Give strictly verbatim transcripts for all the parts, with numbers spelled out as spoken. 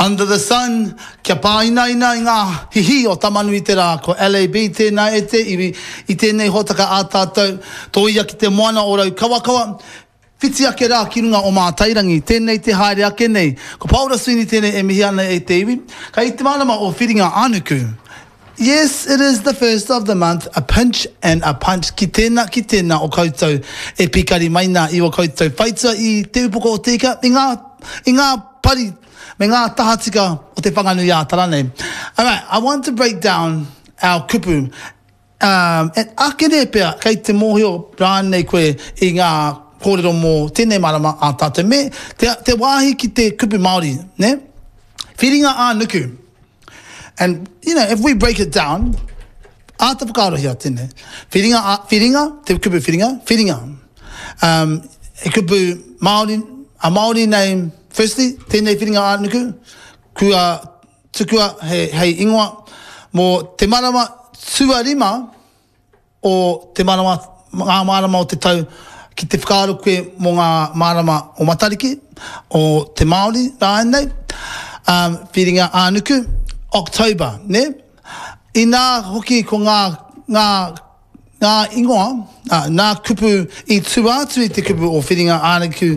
Under the sun, kia pāinaina i ngā hihi o Tamanui-te-rā, ko LAB tēnā e te iwi, i tēnei hōtaka ā tātou, tōia ki te moana o Raukawakawa, whiti ake rā ki runga o Mātairangi, tēnei te haere ake nei. Ko Paora Sweeney tēnei e mihi ana e te iwi, kei te marama o Whiringa-ā-nuku. Yes, it is the first of the month, a pinch and a punch ki tēnā, ki tēnā o koutou e pīkari mai nā i o koutou whaitua i Te Upoko o Te Ika, i ngā, i ngā pari me ngā tahatika o Te Whanganui-ā-Tara nei. Alright, I want to break down our kupu. Um, and akene pea, kei te mōhio rānei koe i ngā kōrero mō tēnei marama a tātou. Me te, te wāhi ki te kupu Māori, ne? Whiringa ā-nuku. And, you know, if we break it down, āta whakaarohia tēnei. Whiringa, a, whiringa, te kupu whiringa, whiringa. Um, he kupu Māori, a Māori name, firstly, tēnei whiringa ā-nuku, kua tukua he, hei ingoa mō te marama tuarima o te marama, ngā marama o te tau ki te whakaaro koe mō ngā marama o Matariki, o te Māori rānei, um, whiringa ā-nuku, October, ne? Inā hoki ko ngā, ngā, ngā ingoa, uh, ngā kupu i tua atu i te kupu o whiringa ā-nuku,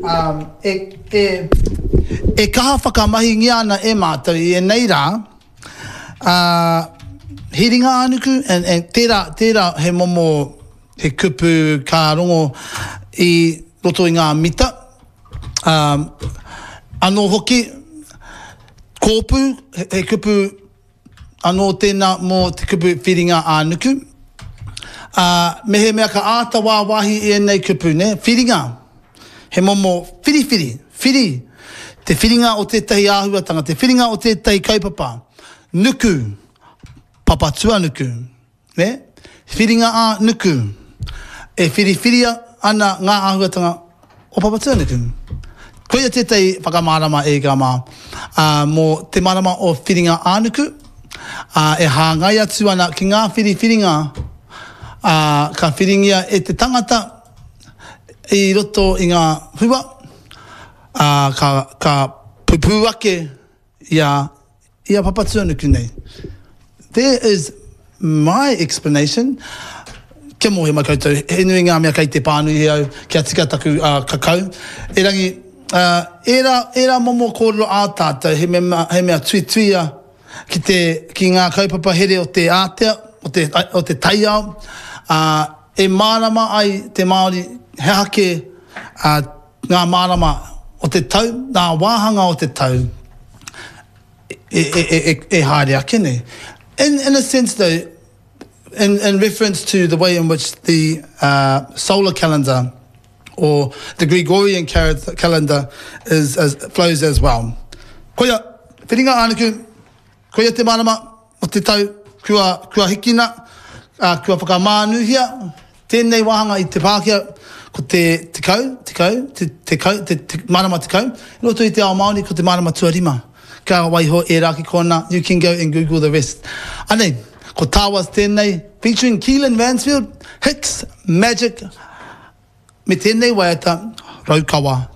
um, e, e, e kaha whakamahingia ana e mātou i ēnei rā, uh, hiringa ā-nuku, and, and tērā, tērā he momo, he kupu ka rongo i roto i ngā mita. Um, anō hoki, kōpū, he, he kupu anō tēnā mō te kupu whiringa ā-nuku. Uh, mehemea ka āta wāwāhi i ēnei kupu, ne? Whiringa, he momo whiriwhiri, whiri, te whiringa o tētahi āhuatanga, te whiringa o tētahi kaupapa, nuku, papatuanuku, ne? Whiringa ā-nuku, e whiriwhiria ana ngā āhuatanga o Papatuanuku. Koia tētahi whakamārama e ika mā, uh, mō te marama o Whiringa ā-nuku, uh, e hāngai atu ana ki ngā whiriwhiringa uh, ka whiringia e te tangata i roto i ngā hua, uh, ka, ka pupū ake i a, i a Papatuanuku nei. There is my explanation. Kia mōhio mai koutou, he nui ngā mea kei te pānui he au, kia tika taku uh, kakau. Erangi, uh, ērā, ērā momo kōrero ā tātou, he mea, he mea tuituia ki, te, ki ngā kaupapa here o te ātea, o te, o te taiao, uh, e mārama ai te Māori, he aha kē uh, ngā mārama o te tau, ngā wāhanga o te tau, e, e, e, e, e haere ake nei. In, in a sense though, in, in reference to the way in which the uh, solar calendar or the Gregorian calendar is, is, flows as well. Koia, whiringa ā-nuku, koia te marama o te tau kua, kua hikina, uh, kua whakamānuhia, tēnei wāhanga i te Pākehā, ko te tekau, tekau, te, tekau, te, te marama tekau, i roto i te ao Māori ko te marama tuarima. Ka waiho e rā ki kona, you can go and Google the rest. Anei, ko Tawas tēnei, featuring Keelan Mansfield, Hicks, Magic, me tēnei waiata, Raukawa